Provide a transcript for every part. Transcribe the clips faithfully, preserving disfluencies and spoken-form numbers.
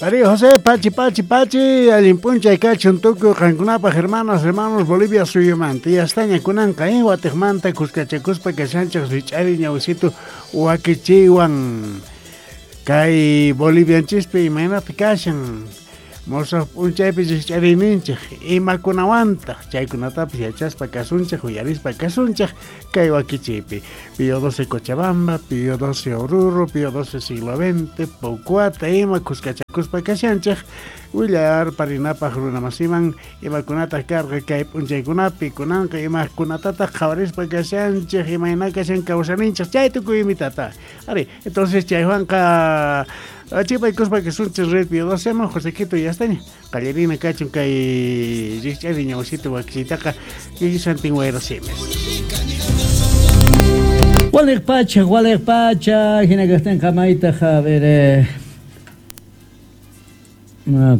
María José, pachi, pachi, pachi, allin p'unchay kachun tukuy qankunapaq hermanas, hermanos Bolivia suyumanta. Yastaña kunanqa, eh, watiqmanta kuskachakuspa kashanchik rich'ari ñawisitu wakichiywan. Kay Bolivianchispi imaynata kashan musuq p'unchaypi rich'ariyninchik imakunawantaq chaykunatapis yachaspa kasunchik uyarispa kasunchik kay wakichiypi. Pío doce Cochabamba, Pío doce Oruro, Pío doce siglo veinte, Pocuata ima kuskachakuspa kashanchik willar parinapaq runamasiman imakunataq karqa kay p'unchaykunapi kunanqa imakunatataq qhawarispa kashanchik imayna kashan kawsaninchik chay tukuy imitata. Ari, entonces chaywanqa achipaykuspa kasunchik red Pío doce man Josequito yastaña qallarina kachun kay rich'ari ñawsita wakichiytaqa kisantin wayra simes. Waliq pacha, waliq pacha, hina kaqtinqa maytaq, a ver, eh,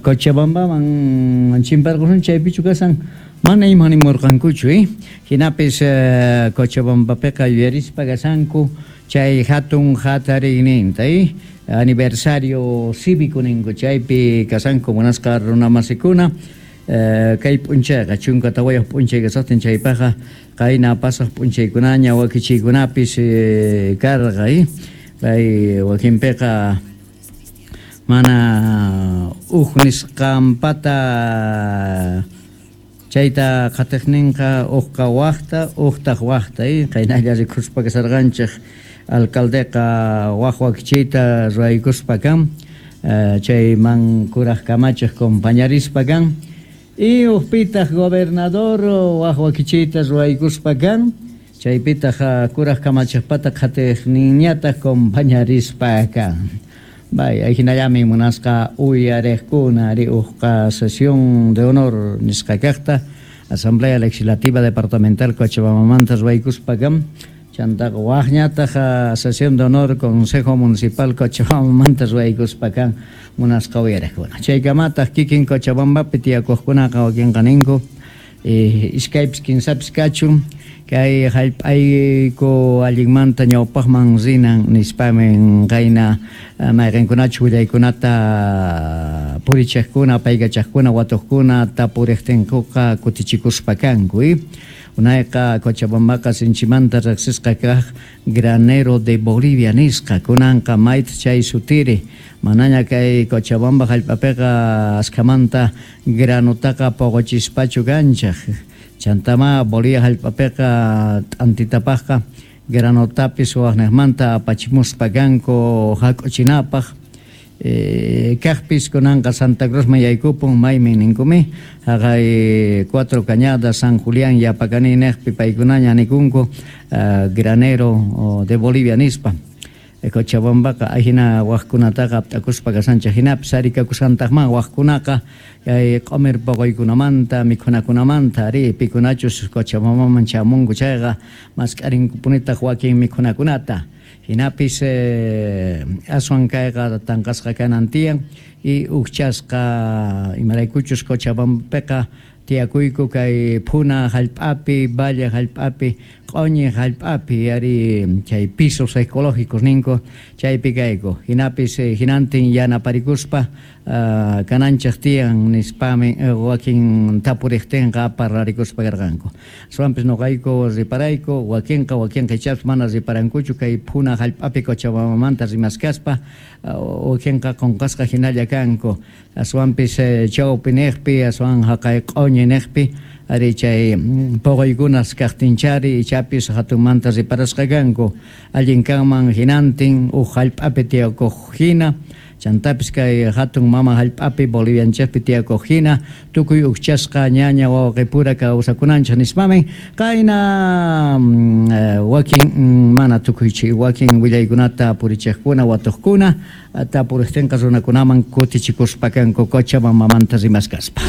Cochabambaman chimparqusun chaypichu kasan mana ima nimurqankuchu, eh? Hinapis eh, Cochabambapiqa yuyarispa kasanku chay hatun hatariyninta, eh? Aniversario cívico ninku chaypi kasanku munasqa runamasikuna eh, kay p'unchayqa chunka tawayuq p'unchay kasaqtin chaypaqqa qayna pasaq p'unchaykunaña wakichiykunapis eh, karqa, eh? Kay wakinpiqa mana uj nisqanpata chayta qatiqninqa uqqa waqta uqtaq waqta, eh? Qaynalla rikuspa kasarqanchik alcaldeqa waq wakichiyta ruwaykuspa kan eh, chayman kuraq kamachiq compañarispa kan y uqpitaq gobernador waq wakichiyta ruwaykuspa kan chaypitaq kuraq kamachiqpata qatiqninñataq compañarispa kan. Bay, hinallami munasqa uyariqkuna ari uqqa sesión de honor nisqa kaqta Asamblea Legislativa Departamental Cochabambamanta ruwaykuspa kan chantaqa waqñataq sesión de honor Consejo Municipal Cochabambamanta ruwaykuspa kan munasqa uyariqkuna. Chaykamataq kikin Cochabambapi tiyakuqkunaqa wakinqa ninku eh, iskaypis kinsapis kachun kay hallp'ayku allinmanta ñawpaqman rinan nispamin qayna mayqinkunachu willaykunata purichiqkuna paykachaqkuna watuqkuna tapuriqtinkuqa kutichikuspa kanku, eh? Unayqa Cochabambaqa sinchimanta riqsisqa kaq granero de Bolivia nisqa kunanqa mayta chay sutiri manaña kay Cochabamba hallp'apiqa askhamanta granutaqa puquchispachu kanchaq chantama Bolivia hallp'apiqa t'antitapaqqa granutapis waqniqmanta apachimuspa kanku hak'uchinapaq eh, kaqpis kunanqa Santa Cruzman yaykupun maymin ninkumi haqay Cuatro Cañadas San Julián Yapacani niqpi paykunaña nikunku uh, granero de Bolivia nispa. Cochabambaqa ahina waqkunataqa apt'akuspa kasanchik hinapis arikakusantaqman waqkunaqa kay q'umir puquykunamanta mikhunakunamanta ari pikunachus Cochabambaman chamunku chayqa mask'arinkupunitaq wakin mikhunakunata hinapis eh, aswan kayqa tanqasqa kanan tiyan y ukchasqa imaraykuchus Cochabambapiqa tiyakuyku kay phuna hallp'api valle hallp'api q'uñi hallp'api ari chay pisos ecológicos ninku chaypi kayku hinapis eh, hinantin yanaparikuspa uh, kananchik tiyan nispami eh, wakin tapuriqtinqa parlarikuspa karqanku aswanpis nuqayku riparayku wakinqa wakinqa ichapis mana riparankuchu kay phuna hallp'api Cochabambamanta rimaskaspa uh, wakinqa qunqasqa hinalla kanku aswanpis eh, chawpi niqpi aswan haqay q'uñi niqpi ari chay puquykunas kaqtinchari ichapis hatunmanta riparasqa kanku allin kanman hinantin uj hallp'api tiyakuq hina chantapis kay hatun mama hallp'api Bolivianchikpi tiyakuq hina tukuy ukchasqa ñaña wawqipura kawsakunanchik nispamin qayna eh, wakin mana tukuychi wakin willaykunata purichiqkuna watuqkuna tapuriqtinqa runakunaman kutichikuspa kanku Cochabambamanta rimaskaspa.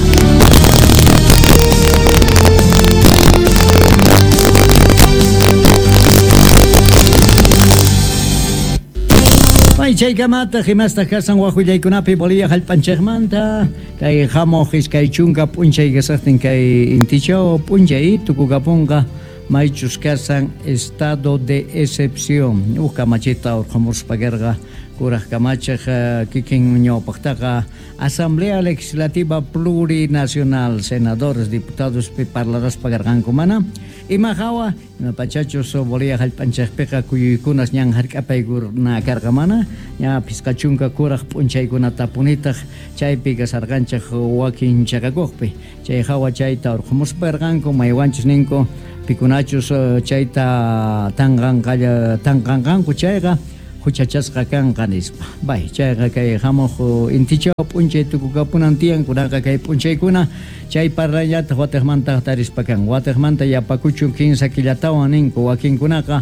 May chaykamata himastaq kasan waq willaykunapi Bolivia hallp'anchikmanta kay hamuq iskay chunka p'unchay kasaqtin kay intichaw p'unchay tukukapunqa maychus kasan estado de excepción uj kamachita urqhamuspa karqa Kuraq kamachiq kikin ñawpaqtaqa Asamblea Legislativa Plurinacional, senadores, diputados pi parlaraspa karqanku mana ima hawa ima pachachus Bolivia hallp'anchikpiqa kuyuykunas ñan hark'apaykuna karqa mana ña phisqa chunka kuraq p'unchaykunatapunitaq chaypi kasarqanchik wakin chaqakuqpi chay hawa chayta urqumuspa karqanku maywanchus ninku pikunachus chayta tanqanqalla tanqanqanku chayqa huchachasqa kanqa nispa. Bay chayqa kay hamuq intichaw p'unchay tukukapunan tiyan kunaqa kay p'unchaykuna chay parlayllata watiqmanta tarispa kan watiqmanta yapakuchun kinsa killatawan ninku wakinkunaqa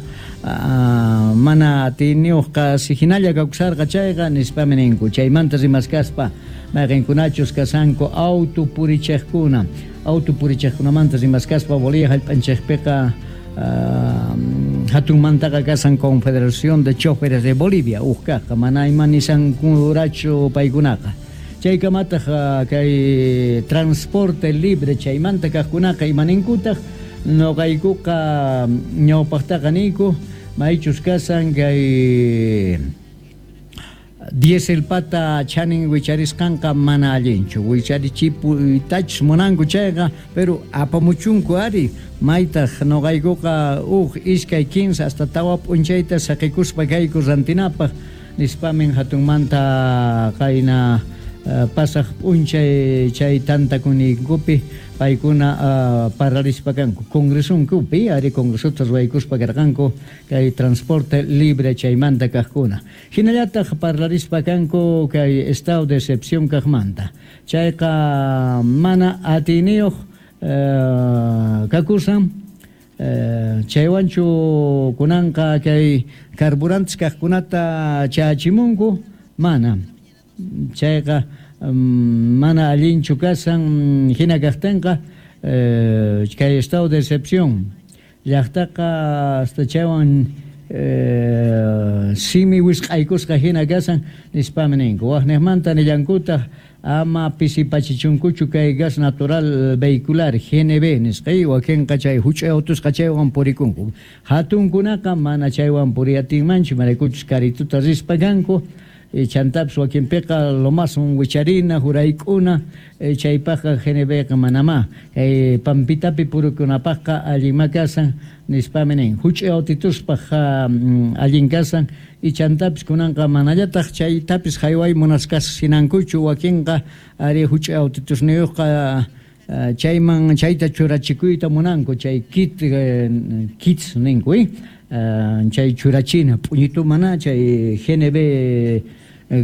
mana atiniyuqqa hinalla kawsarqa chayqa nispami ninku chaymanta rimaskaspa mayqinkunachus kasanku auto purichiqkuna auto purichiqkunamanta rimaskaspa Bolivia hallp'anchikpiqa hatunmantaqa kasan Confederación de Choferes de Bolivia uqkaqqa mana ima nisankurachu paykunaqa chaykamataq kay transporte libre chaymanta kaqkunaqa imaninkutaq nuqaykuqa ñawpaqtaqa niyku maychus kasan kay diesel pata chanin wicharisqanqa mana allinchu wicharichipuytachus munanku chayqa pero apamuchunku ari maytaq nuqaykuqa uq iskay kinsa hasta tawa p'unchayta saqikuspa kayku rantinapaq nispamin hatunmanta qayna pasaq p'unchay chay tantakuniykupi paykuna uh, parlarispa kanku congresunkupi ari congresuta ruwaykuspa karqanku kay transporte libre chaymanta kaqkuna hinallataq parlarispa kanku kay estado de excepción kaqmanta chayqa mana atiniyuq uh, kakusan uh, chaywanchu kunanqa kay carburantes kaqkunata chachimunku mana chayqa um, mana allinchu kasan hina kaqtinqa eh, kay estado de excepción llaqtaqa hasta chaywan eh, simi wisq'aykusqa hina kasan nispami ninku waqniqmanta nillankutaq ama pisipachichunkuchu kay gas natural vehicular G N V nisqa wakinqa chay huch'uy autusqa chaywan purikunku hatunkunaqa mana chaywan puriyatinmanchu maraykuchus karituta rispa kanku chantapis wakinpiqa lomasun wicharina hurayk'una chaypaqqa G N Vqa manamá kay pampitapi purikunapaqqa allinma kasan nispami nin huch'uy autituspaq allin kasan y chantapis kunanqa manallataq chaytapis hayway munasqas hinankuchu wakinqa ari huch'uy autitusniyuqqa chayman chayta churachikuyta munanku chay kit kits ninku chay churachina p'uñitu mana chay G N V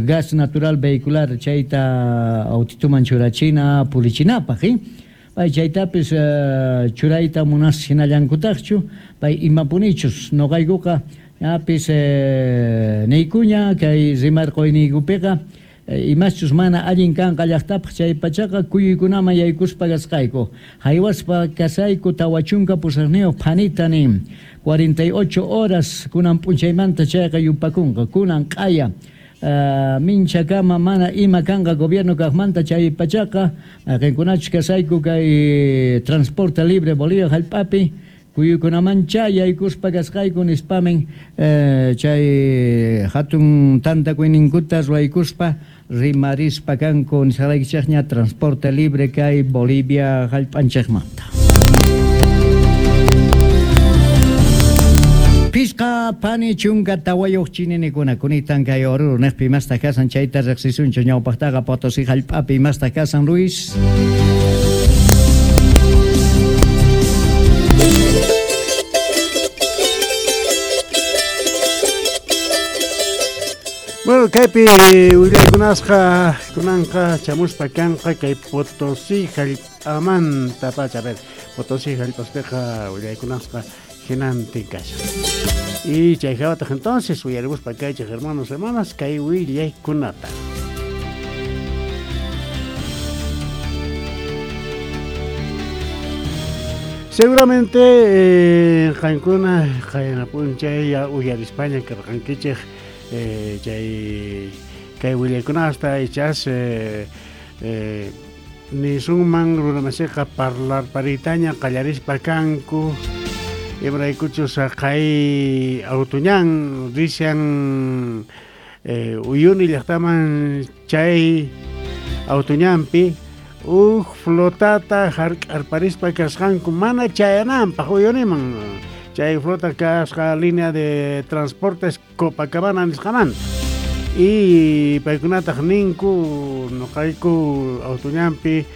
gas natural vehicular chayta autituman churachina purichinapaq pay chaytapis churayta munas hinallankutaqchu pay imapunichus nuqaykuqa apis niykuña kay rimarquyniykupiqa imaschus mana allin kanqa llaqtapaq chay pachaqa kuyuykunaman yaykuspa kasqayku haywaspa kasayku tawa chunka pusaqniyuq phanita nin cuarenta y ocho horas kunan p'unchaymanta chayqa yupakunqa kunan q'aya uh, minchakama mana ima kanqa gobierno kaqmanta chay pachaqa mayqinkunachus kasayku kay transporte libre Bolivia hallp'api kuyuykunaman chay yaykuspa kasqayku nispamin eh, chay hatun tantakuyninkuta ruwaykuspa rimarispa kanku nisqaraykichikña transporte libre kay Bolivia hallp'anchikmanta. Pisqa pani chunka tawayuq chininikuna kunitan kay Oruro niqpi imastaq kasan chayta riqsisunchu ñawpaqtaqa Potosí hallp'api imastaq kasan Luis. Bueno, kaypi willaykunasqa kunanqa chamuspa kanqa kay Potosí hallp'amanta pacha. A ver, Potosí hallp'aspiqa willaykunasqa hinantin kashan. Y chay hawataq entonces uyarimuspa kaychik hermanos, hermanas, kay willaykunata. Seguramente eh, qankuna qayna p'unchay uyarispaña karqankichik Eh, chay kay willaykunasta ichas eh, eh, nisunman runamasiqa parlarpariytaña qallarispa kanku imaraykuchus kay autuñan rishan eh, Uyuni llaqtaman chay autoñanpi uj flotata hark'arparispa kasqanku mana chayananpaq Uyuniman chay flota kasqa línea de transportes Copacabana nisqamanta y paykunataq ninku nuqayku autoñanpi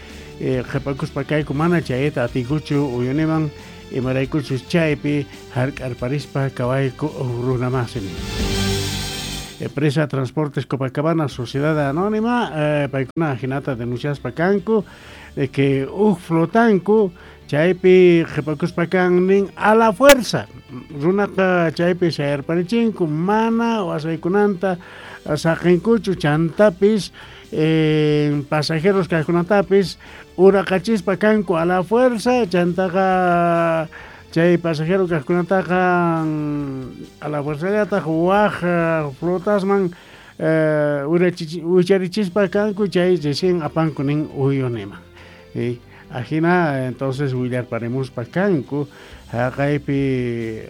eh, qhipakuspa kayku mana chayta atiykuchu Uyuniman imaraykuchus chaypi hark'arparispa kawayku runamasin. Empresa Transportes Copacabana, Sociedad Anónima, eh, paykuna hinata denunciaspa kanku de que uj flotanku chaypi qhipakuspa kan nin a la fuerza runaqa chaypi sayarparichinku mana wasaykunanta saqinkuchu chantapis eh, pasajeros kaqkunatapis uraqachispa kanku a la fuerza chantaqa chay pasajero kaqkunataqa a la fuerzallataq waj flotasman eh, uracharichispa kanku chay recién apanku nin Uyuniman. Y ajina entonces willarparemuspa kanku haqaypi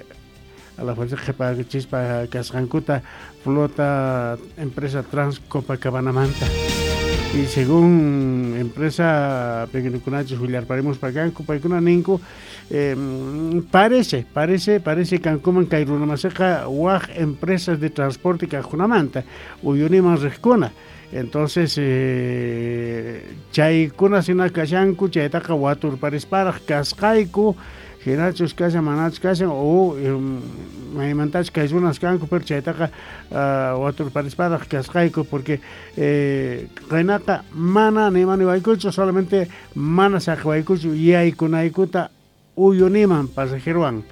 a la fuerza qhipachispa kasqankuta flota empresa Trans Copacabanamanta. Y según empresa pequeñukunachus willarparemuspa kanku paykuna ninku eh, parece, parece, parece kankuman kay runamasiqa waj empresas de transporte kaqkunamanta Uyuniman riqkuna. Entonces eh, chaykuna sina kashanku chaytaqa waturparisparaq kasqayku hinachus kashan manachus kashan o maymantachus kay runas kanku pero chaytaqa uh, waturparisparaq kasqayku porque eh, qaynaqa mana nimaniwaykuchu solamente mana saqwaykuchu yaykunaykuta Uyuniman pasajerowan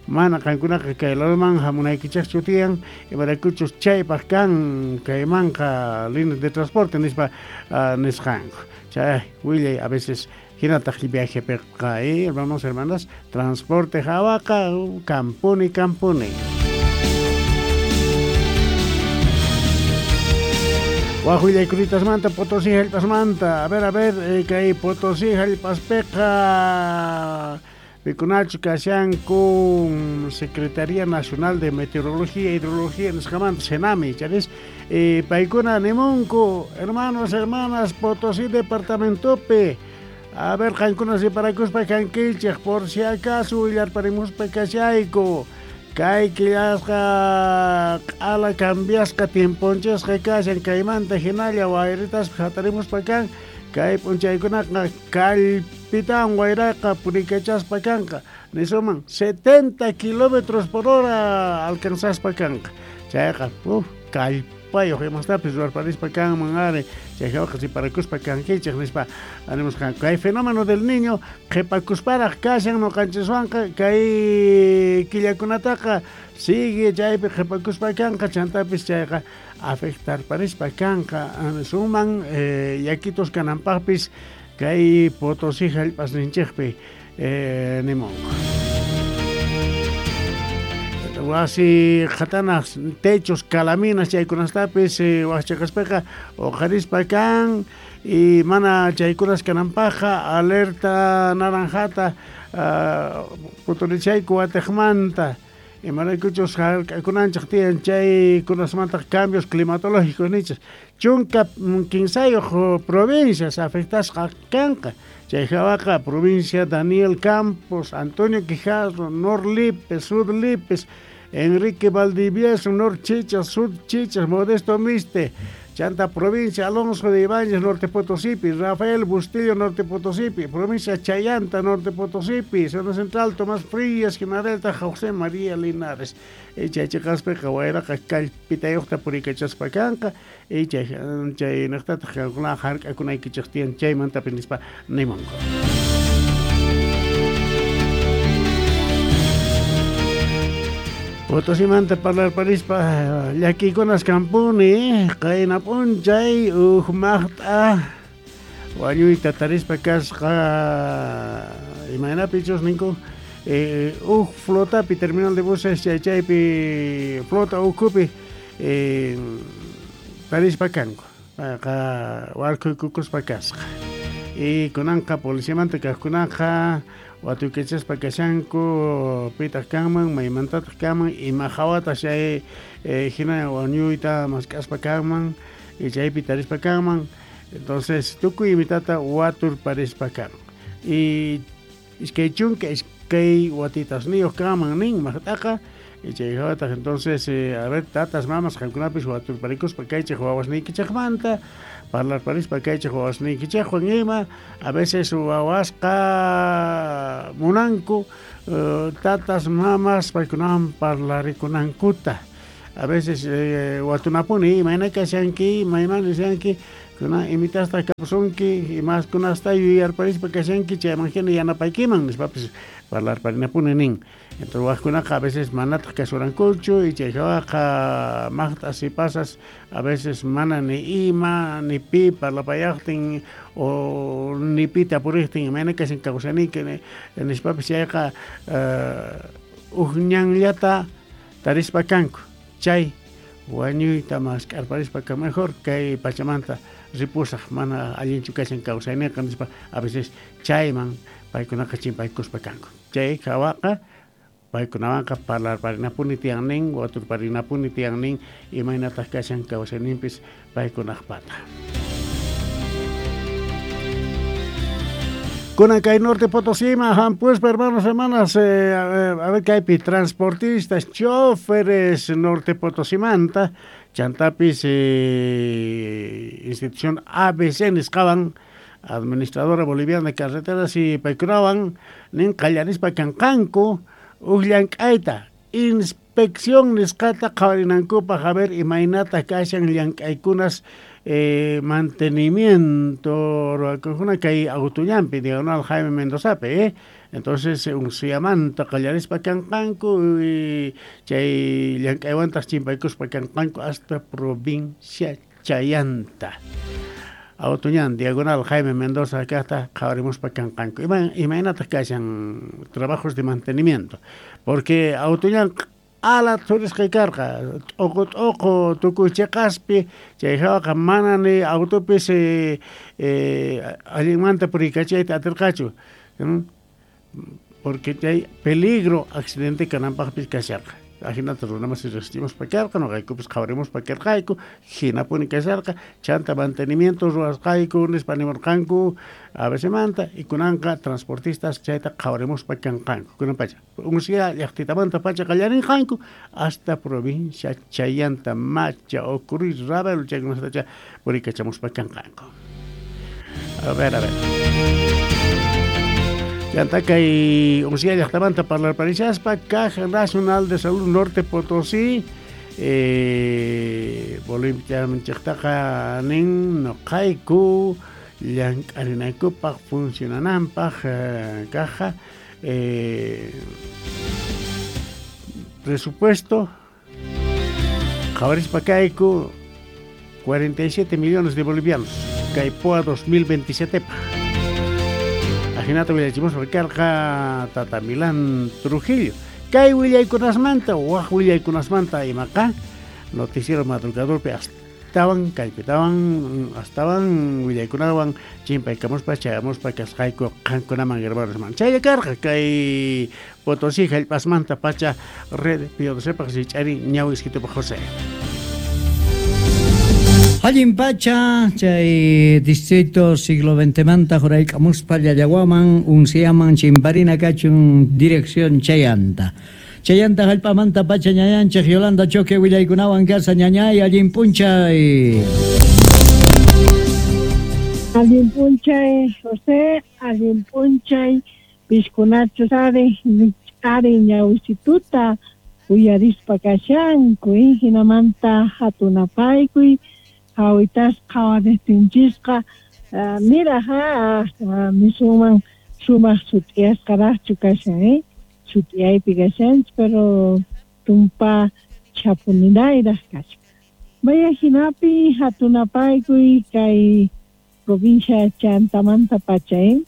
mana qankunaqa kay ladoman hamunaykichaqchu tiyan imaraykuchus chaypaq kan kaymanqa líneas de transporte nispa uh, nisqanku chay willay a veces hinataq viajepiqa eh, hermanos hermanas transporte hawaqa kampuni kampuni. Waj willaykulitasmanta Potosí hallp'asmanta a ver a ver eh, kay Potosí hallp'aspiqa pikunachu kashanku Secretaría Nacional de Meteorología e Hidrología nisqamanta Senami charis eh, paykuna nimunku hermanos hermanas Potosí departamentopi a ver qankuna siparakuspa kankichik por si acaso willarparimuspa kashayku kay killasqa q'ala cambiasqa tiemponchisqa kashan kaymanta hinalla wayritaspa hatarimuspa kan kay p'unchaykunaqa kallpitawan wayraqa purikachaspa kanqa nisuman setenta kilómetros por hora alcanzaspa kanqa chayqa uf kallpayuq imastapis ruwarparispa kanman ari chay hawaqa siparakuspa kankichik nispa animusqanku kay fenómeno del niño qhipakusparaq kashan nuqanchiswanqa kay killakunataqa sigue chaypi qhipakuspa kanqa chantapis chayqa afectarparispa kanqa nisuman eh, yakitos kananpaqpis kay Potosí hallp'asninchikpi eh, nimunku. Wasi qhatanas techos calaminas chaykunastapis eh, waqchaqaspaqa uqharispa kan y mana chaykunas kananpaqqa alerta naranjata uh, puturichayku watiqmanta imaraykuchus hark'akunanchik tiyan chaykunasmantaq cambios climatológicos nichis chunka kinsayuq provincias afectasqa kanqa chay hawaqa provincia Daniel Campos, Antonio Quijarro, Nor Lipes, Sud Lipes, Enrique Valdivieso, Nor Chichas, Sud Chichas, Modesto Miste, Chanta provincia Alonso de Ibáñez, Norte Potosípi, Rafael Bustillo, Norte Potosípi, provincia Chayanta, Norte Potosípi, Zona Central, Tomás Frías, Ginadelta, José María Linares. Y chay chiqaspiqa wayraqa kallpitayuqta purikachaspa kanqa, y chay chaynaqtataq qankuna hark'akunaykichik tiyan chaymantapis nispa nimunku. Potosimanta parlarparispa llakiykunas kampuni qayna p'unchay uj maqt'a wañuyta tarispa kasqa imaynapichus ninku eh, uj flotapi terminal de buses chay chaypi flota ukhupi eh, tarispa kanku payqa warkhuykukuspa kasqa y kunanqa policiamanta kaqkunaqa watuykachaspa kashanku pitaq kanman maymantataq kanman ima hawataq chay eh, hina wañuyta mask'aspa kanman y chaypi tarispa kanman. Entonces tukuy imitata waturparispa kan y iskay chunka iskay watitasniyuq kanman nin maqt'aqa y chay hawataq entonces eh, a ver tatas mamas qankunapis waturparikuspa kaychik wawasniykichikmanta parlarparispa kaychik wawasniykichikwan ima a veces wawasqa munanku uh, tatas mamas paykunawan parlarikunankuta a veces eh, watunapuni imayna kashanki mayman rishanki kuna imitasta kapusunki imaskunasta yuyarparispa kashanki chayman hina yanapaykiman nispapis parlarparinapuni nin. Entonces wajkunaqa a veces manataq kasurankuchu y chay hawaqa maqt'as y pasas a veces mana ni ima ni pi parlapayaqtin o ni pi tapuriqtin imayna kashan kawsaniki nispapis chayqa uh, uj ñanllata tarispa kanku chay wañuyta mask'arparispa ka mejor kay pachamanta ripusaq mana allinchu kashan kawsayninqa nispa a veces chayman paykunaqa chimpaykuspa kanku chay hawaqa paykunawanqa parlarparinapuni tiyan nin waturparinapuni tiyan nin imaynataq kashan kawsayninpis paykunaqpata. Kunan kay Norte Potosí, hampuspa hermanos, hermanas, eh, a ver kaypi transportistas, choferes Norte Potosimanta, chantapis eh, institución A B C nisqawan, administradora boliviana de carreteras y paykunawan nin qallarispa kanqanku uj llank'ayta inspección nisqata qhawarinankupaq a ver imaynata kashan llank'aykunas eh, mantenimiento ruwakuna kay autollampi diagonal Jaime Mendozapi eh? Entonces unsuyamanta qallarispa kanqanku y chay llank'aywantaq chimpaykuspa kanqanku hasta provincia Chayanta. Autoñan diagonal Jaime Mendoza kaqta qhawarimuspa kanqanku ima imaynataq kashan trabajos de mantenimiento porque autoñan ala thurisqa karqa t'uqu t'uqu tukuy chiqaspi chay hawaqa mana ni autopis eh, eh, allinmanta puriykachayta atirqachu porque chay peligro accidente kananpaqpis kasharqa ajinata runamas riqsichimuspa karqa nuqaykupis qhawarimuspa karqayku hinapuni kasharqa chanta mantenimiento ruwasqayku nispa nimurqanku A B C manta y kunanqa transportistas chayta qhawarimuspa kanqanku kunan pacha unsiya llaqtitamanta pacha qallarinqanku hasta provincia Chayanta Macha Ocurí Ravelo chaykunatacha puriykachamuspa kanqanku. A ver, a ver. Chanta kay unsiya llaqtamanta parlarparishaspa Caja Nacional de Salud Norte Potosí eh, Boliviamanchiktaqa nin nuqayku llank'arinaykupaq funcionananpaq eh, caja eh, presupuesto qhawarispa kayku cuarenta y siete millones de bolivianos kay P O A dos mil veintisiete pa ajinata willachimuspa karqa Tata Milán Trujillo kay willaykunasmanta waj willaykunasmanta imaqa noticiero madrugadorpi astawan kaypitawan astawan willaykunawan chimpaykamuspa chayamuspa kasqayku qankunaman hermanos chaylla karqa kay Potosí hallp'asmanta pacha red P O D C paq rich'ari ñawiskitupa José. Allin pacha chay distrito siglo veinte manta jurayk'amuspa llallawaman unsiaman chimparina kachun dirección Chayanta. Chayanta hallp'amanta pacha ñañanchik Yolanda Choque willaykunawan kasa ñañay allin p'unchay. Allin p'unchay José, allin p'unchay piskunachu sari ari ñawisituta uyarispa kashanku hinamanta hatunapaykuy hawitasqa qhawaristinchikqa mira ha nisuman sumaq sut'iyasqaraqchu kashan eh sut'iyaypi kashanchik pero tumpa chapuninayraq kashan maya hinapi hatunapaykuy kay provincia Chantamanta pacha eh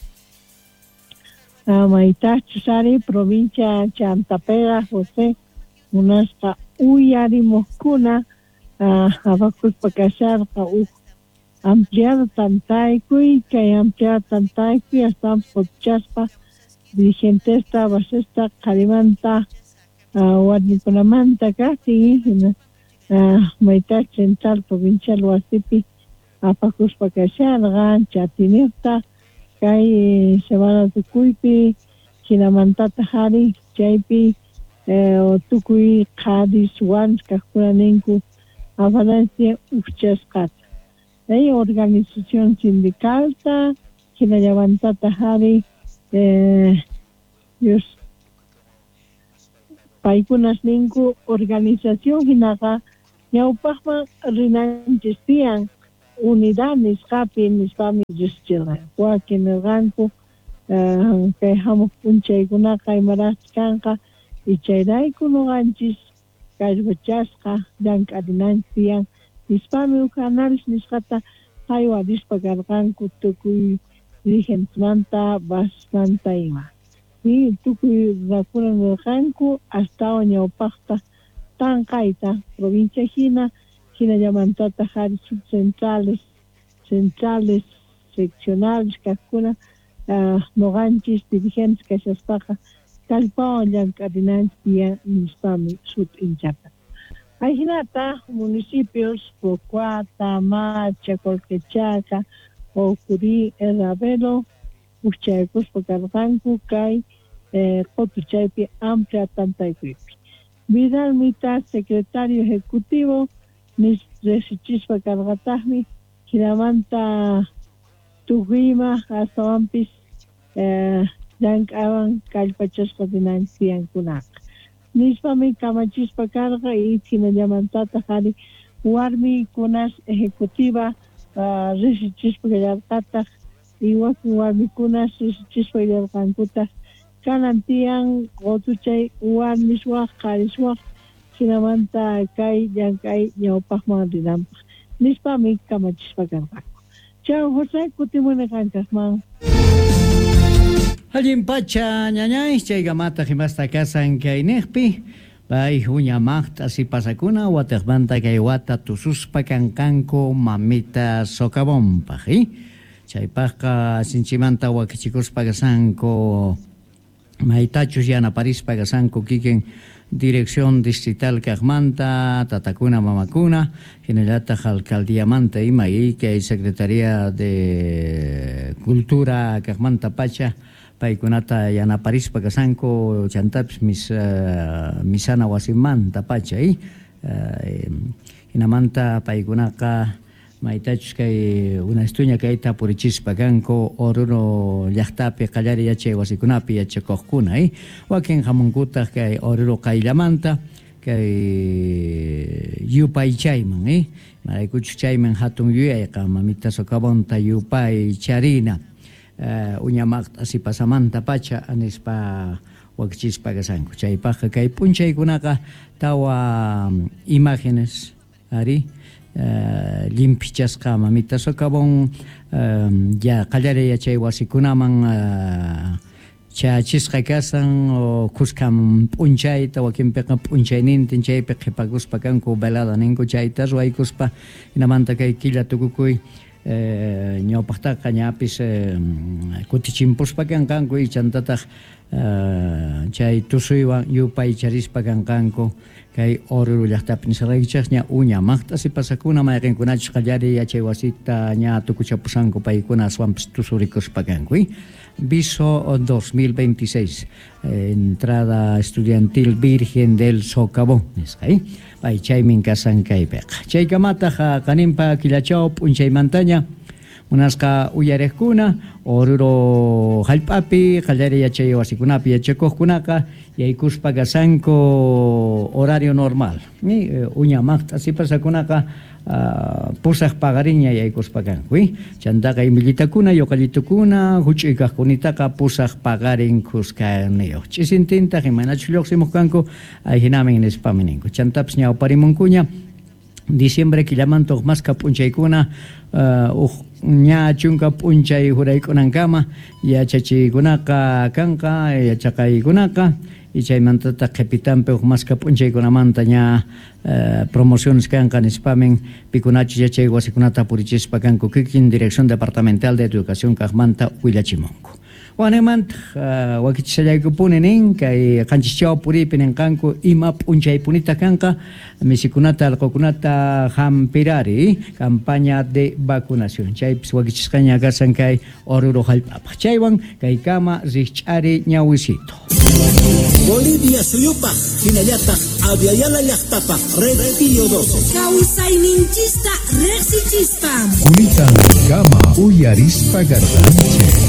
maytachus ari provincia Chantapega José munasqa uyarimuqkuna abakuspa kasharqa uj ampliado tantaykuy kay ampliado tantaykuy astawan p'utchaspa dirigentesta basesta qharimanta warmikunamanta kaqtin hina mayta central provincial wasipi apakuspa kasharqa chatiniqta kay semana tukuypi hinamantataq ari chaypi tukuy qharis warmis kaqkuna ninku afanansi uqchasqata chay organización sindicalta hinallamantataq ari Dios paykunas ninku organización hinaqa ñawpaqman rinanchis tiyan unidad nisqapi nispami riqsichirqanku wakin nirqanku kay hamuq p'unchaykunaqa imaraqchus kanqa ichayrayku nuqanchis kallpachasqa llank'arinanchis tiyan nispami huk análisis nisqata haywarispa karqanku tukuy dirigentesmanta basmanta ima y tukuy runakuna nirqanku astawan ñawpaqta tanqayta provincia hina hinallamantataq ari subcentrales centrales seccionales kaqkuna nuqanchis dirigentes kashaspaqa kallpawan llank'arinanchis tiyan nispami sut'inchata. Ajinata municipios Pocuata, Macha, Colquechaca, Ocurí, Ravelo uqchaykuspa karqanku kay qutuchaypi amplia tantaykuypi. Vidal Mita, secretario ejecutivo, riqsichispa karqataqmi hinamanta tukuyma astawanpis llank'awan kallpachasqa rinanchis tiyankunaqa nispami kamachispa karqa y hinallamantataq ari warmikunas ejecutiva riqsichispa kallarqataq y wakin warmikunas riqsichispa kallarqankutaq kanan tiyan qutuchay warmis waq qharis waq hinamanta kay llank'ay ñawpaqman rinanpaq nispami kamachispa karqanku. Chao José, kutimuni qankaqman. Allin pacha ñañay chaykamata himasta kasan kayniqpi pay huñamaqta sipasakuna watiqmanta kay wata tususpa kanqanku mamita socavonpaq eh? Chaypaqqa sinchimanta wakichikuspa kasanku maytachus yanaparispa kasanku kikin dirección distrital kaqmanta tatakuna mamakuna hinallataq alcaldiamanta ima y kay secretaría de cultura kaqmanta pacha paykunata yanaparispa kasanku chantapis mis uh, misana wasimanta pacha eh? uh, hinamanta paykunaqa maytachus kay unastuña kayta purichispa kanku Oruro llaqtapi qallari yachay wasikunapi yachakuqkuna eh? Wakin hamunkutaq kay Oruro qayllamanta kay yupaychayman eh? Maraykuchus chayman hatun yuyayqa mamita socavonta yupaycharina uh, uñamaqta sipasamanta pacha nispa wakichispa kasanku chaypaqqa kay p'unchaykunaqa tawa imágenes ari Uh, limpichasqa mamita socavón uh, ya qallari yachay wasikunaman uh, chachisqa kasan o kuskam p'unchayta wakinpiqa p'unchaynintin chaypi qhipakuspa kanku velada ninku chayta ruwaykuspa hinamanta kay killa tukukuy eh, ñawpaqtaqa ñapis eh, kutichimpuspa kanqanku y chantataq uh, chay tusuywan yupaycharispa kanqanku kay Oruro llaqtapi nisqaykichaqña uña maqta sipasakuna mayqinkunachus qallari yachay wasita ña tukuchapusanku paykuna aswanpis tusurikuspa kanku eh? Viso dos mil veintiséis eh, entrada estudiantil Virgen del Socavón nisqa eh? Pay chaymin kasan kaypiqa chaykamataq qaninpa killachaw p'unchaymantaña munasqa uyariqkuna Oruro hallp'api qallari yachay wasikunapi yachakuqkunaqa yaykuspa kasanku horario normal eh, uña maqta sipasakunaqa uh, pusaq paqariña yaykuspa kanku eh? Chantaqa imillitakuna yuqallitukuna huch'uy kaqkunitaqa pusaq paqarin kuskaniyuq ch'isintintaq imaynachus lluqsimuq kanku ayhinamin nispami ninku chantapis ñawparimunkuña diciembre killamanta uq maska p'unchaykuna uh, uq ña chunka p'unchay huraykunankama yachachiykunaqa kanqa yachaqaykunaqa y chaymantataq qhipitanpi uq maska p'unchaykunamanta ña uh, promociones kanqa nispamin pikunachus yachay wasikunata purichispa kanku kikin Dirección Departamental de Educación kaqmanta willachimunku. Wanemantaq uh, wakichishallaykupuni nin kay qanchischaw puriypi ninqanku ima p'unchaypunita kanqa misikunata allqukunata hampirari campaña de vacunación chaypis wakichisqaña kashan kay Oruro hallp'apaq chaywan kaykama rikch'ari ñawisito. Bolivia suyupaq hinallataq Aviala llaqtapaq Red Pío doce. Kawsayninchista riqsichispa. Kunitan kama uyarispa karqanchik.